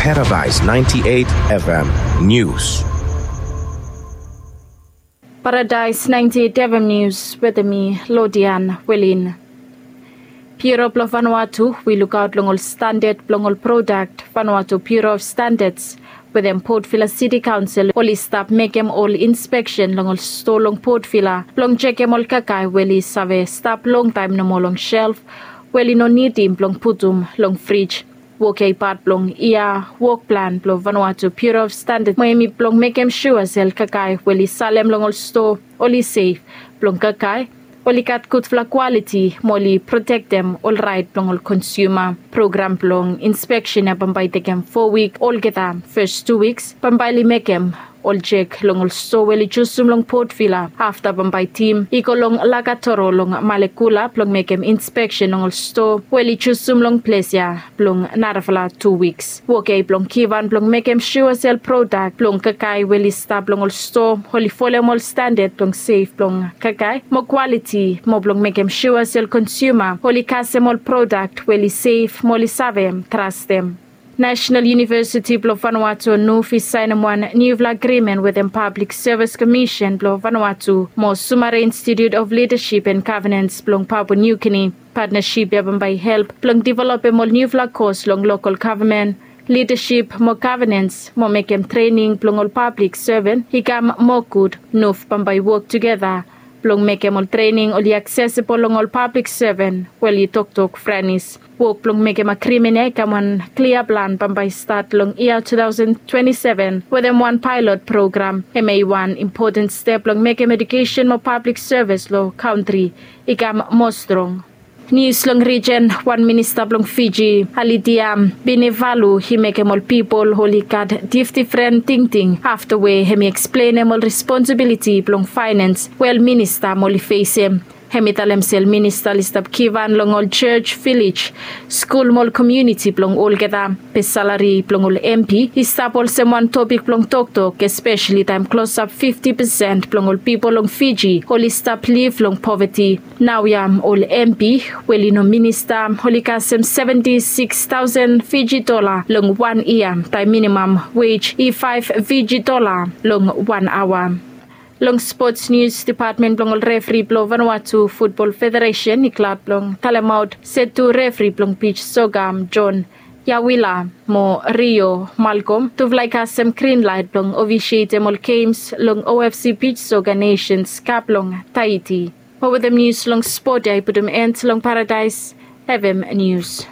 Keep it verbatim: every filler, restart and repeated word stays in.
Paradise ninety-eight F M News. Paradise ninety-eight F M News wetem mi, Lodian Welin. Bureau blong Vanuatu we i lukaot long ol standad blong ol prodak, Vanuatu Bureau of Standards, wetem Port Vila City Council, oli stap mekem ol inspeksen long ol stoa long Port Vila blong jekem ol kakae we oli save stap longtaem nomo long shelf, we oli no nidim blong putum long frij. Wok ya i pat blong yia wok plan blong Vanuatu Bureau of Standards, mo hemi blong mekem sua se ol kakae we oli salem long ol stoa oli sef blong kakae, oli gat gudfala kwaliti, mo oli protektem ol raet blong ol konsiuma. Program blong inspeksen ya bambae i tekem fo wik olgeta. Fes tu wiks bambae oli mekem ol jek long ol stoa we oli jusum long Port Vila. Afta bambae tim i go long Lakatoro long Malekula blong mekem inspeksen long ol stoa we oli jusum long ples ya blong narafala tu wiks. Wok ya i blong givhan blong mekem sua se ol prodak blong kakae we oli stap long ol stoa oli folem ol standad blong sef blong kakae mo kwaliti, mo blong mekem sua se ol konsiuma oli kasem ol prodak we oli sef mo oli save trastem. National University blong Vanuatu, NUV, i saenem wan niufala agrimen wetem Public Service Commission blong Vanuatu mo Sumare Institute of Leadership and Governance blong Papua New Guinea. Patnasip ya bambae i help blong developem ol niufala kos long lokol gavman, lidasip mo gavanans, mo mekem trening blong ol pablik seven i kam moa gud. NUV bambae i wok tugeta blong mekem ol trening oli aksesebol long ol pablik seven we oli toktok Franis. Wok blong mekem agrimen ya i kam wan klia plan bambae i stat long yia two thousand twenty-seven wetem wan paelot program. Hemia i wan impoten step blong mekem ejukesen mo pablik sevis long kantri i kam moa strong. Nius long rijen, wan minista blong Fiji, Alidia Venivalu, i mekem ol pipol oli gat difdifren tingting afta we hemi eksplenem ol responsibiliti blong faenans we ol minista oli fesem. Hemi talem se ol minista oli stap givhan long ol jos, vilej, skul mo ol komuniti blong olgeta. Be salari blong ol MP i stap olsem wan topik blong toktok, espeseli taem klosap fifti pesen blong ol pipol long Fiji oli stap liv long poveti. Naoia ol MP we oli no minista oli kasem seventi siks taosen Fiji dola long wan yia, taem minimam wej i faef Fiji dola long wan aoa. Long spots nius, depatmen blong ol refri blong Vanuatu Futbol Federesen i glad blong talemaot se tu refri blong bij soka, John Yawila mo Rio Malcolm, tufala i kasem grin laet blong ofisietem ol gems long OFC Bij Soka Nations Cup long Tahiti. Mo wetem nius long spot ya i putum en long Paradaes FM Nius.